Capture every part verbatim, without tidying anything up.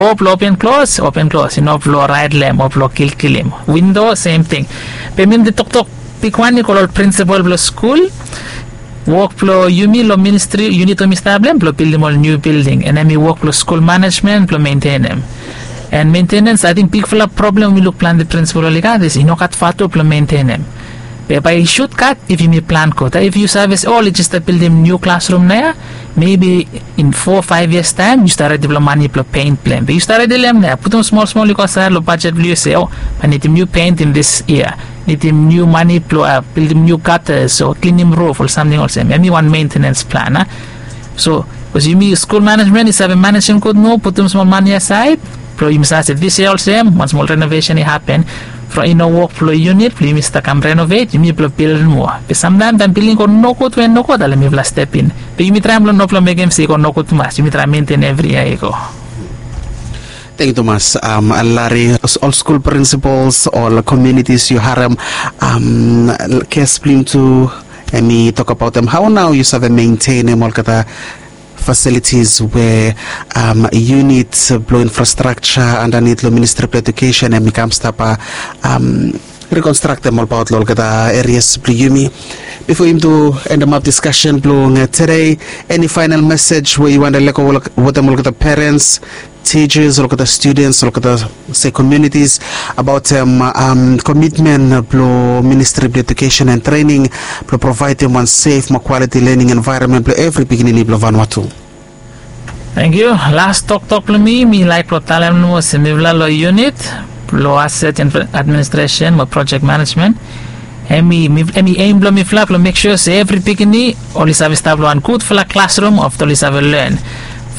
Blong open klos, open klos i no blong raet long em o blong kilkilim. Windo sem ting. Be mi de toktok bigwan i go long ol prinsipol blong skul. Wok blong yumi long ministri yunit we mi stap long em blong bildim ol niu bilding, and em i wok blong skul manejmen blong mentenem. And mentenens ating bigfala problem we mi luk plante prinsipol oli gat is i no gat fatu blong mentenem. Be bae i sut gat if yumi plan gud. If yu save se o oli jes stap bildim niu klasrum nao ya, mebi in fo faev yias taem yu stap redim long mane blong peint blong em. Be yu stap redim long em nao ya, putum smol smol i go asaed long bajet blong yu se o bae nidim niu peint in dis yia, nidim niu mane blong bildim niu gatas o klinim ruf o samting olsem. Em i wan mentenens plan a. So bikos yumi skul manejmen i save manejem gud moa, putum smol mane asaed blong yumi save se dis yia olsem wan smol renovesen i hapen. From i no wok blong yunit blong yumi stap kam renovet, yumi blong bildim moa. Be samtaem taem bilding i go nogud we nogud ale mifala step in. Be yumi traem blong no blong mekem se i go nogud tumas, yumi traem mentenem evri yia i go. Tengyu tumas. Lari, ol skul prinsipols ol komiunitis yu harem kes blong yumi tu, em i tokabaotem hao nao yu save mentenem olgeta fasilitis we yunit blong infrastrakja andanit long ministri blong edukesen em i kam stap rikonstraktem olbaot long olgeta erias blong yumi. Bifo yumi tu endemap diskasen blong tede, eni faenal mesej we yu wantem lego wetem olgeta perens, tijas, olgeta studens, olgeta se komiunitis abaotem komitmen blong ministri blong edukesen and trening blong provaedem wan sef mo kwaliti lening envaeronmen blong evri pikinini blong Vanuatu? Tengyu. Las toktok blong mi mi laek blong talem nomo se mifala long yunit blong aset administresen mo projek manejmen, em i em i em blong mifala blong mek sua se evri pikinini oli save stap long wan gudfala klasrum of oli save len.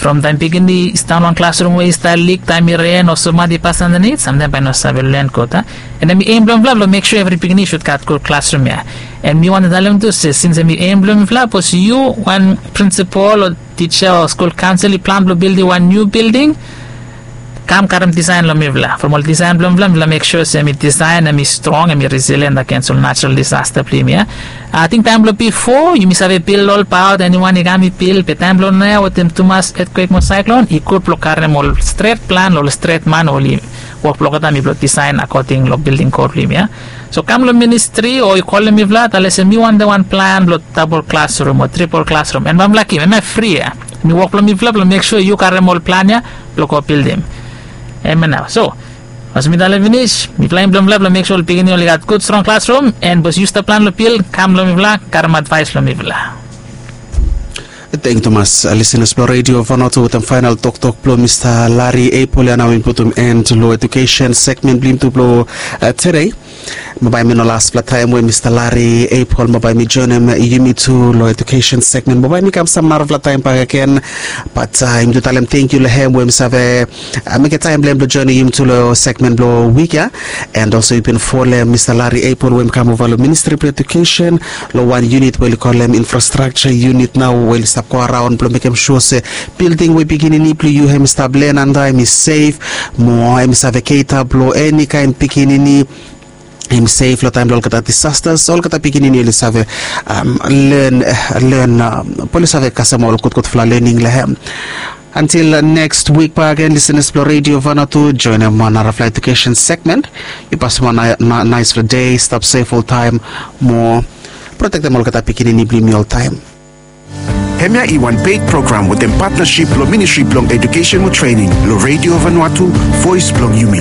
From taem pikinini i stap long wan klasrum we i stap lik taem i ren o sumadi pas andanit samtaem bae i no save len gud a. And em i em blong mifala blong mek sua evri pikinini i sud gat gud klasrum ya. And mi wantem talem tu se sins em i em blong mifala bikos yu wan prinsipol o tija o skul kaonsel i plan blong bildim wan niu bilding, kam karem disaen long mifala. From ol disaen blong mifala mifala mek sua se em i disaen em i strong em i resilien agens ol najerol disasta blong yumi ya. Ating taem blong bifo yumi save bil olbaot eniwan i kam i bil be taem blong nao ya wetem tumas etkwek mo saeklon i gud blong karem ol stret plan long ol stret man oli wok blong olgeta mi blong disaen akoding long bilding kod blong yumi ya. So kam long ministri o yu kolem mifala talem se mi wantem wan plan blong dabol klasrum o tripol klasrum and bamlakim em ya fri ya. Mi wok blong mifala blong mek sua yu karem ol plan ya blong go bildim. Em ya nao so, olsem mi talem finis mifala em blong mifala blong mek sua ol pikinini oli gat gud strong klasrum and bikos yu stap plan long bil kam long mifala karem advaes long mifala. Tengyu tumas lisenas blong redio Vanuatu wetem faenal toktok blong mista Lari Epol ya nao mi putum en long edukesen segmen blong yumi tu blong tede. Mo bae mi no laspela taem we mista Lari Epol mo bae mi joenem yumi tu long edukesen segmen mo bae mi kam sam narafela taem bakegen. Bat yumi tu talem tengyu long hem we mi save mekem taem blong hem blong joenem yumi tu long segmen blong wik ya. And olsem yu bin folem mista Lari Epol we mi kam ova long ministri blong edukesen long wan yunit we oli kolem infrastrakja yunit nao we oli stap go araon blong mekem sua se bilding we pikinini blong yu hem i stap len antap em i sef mo em i save keta blong eni kaen pikinini em i sef long taem blong olgeta disastas olgeta pikinini oli save len len blong oli save kasem ol gudgudfala lening long hem. Antil neks wik bakegen lisenas blong redio Vanuatu joenem wan narafala edukesen segmen. Yu pasim wan naesfala dei stap sef oltaem mo protektem olgeta pikinini blong yumi oltaem. Hemia i wan peit program wetem patnasip long ministri blong edukesen mo trening long redio Vanuatu, voes blong yumi.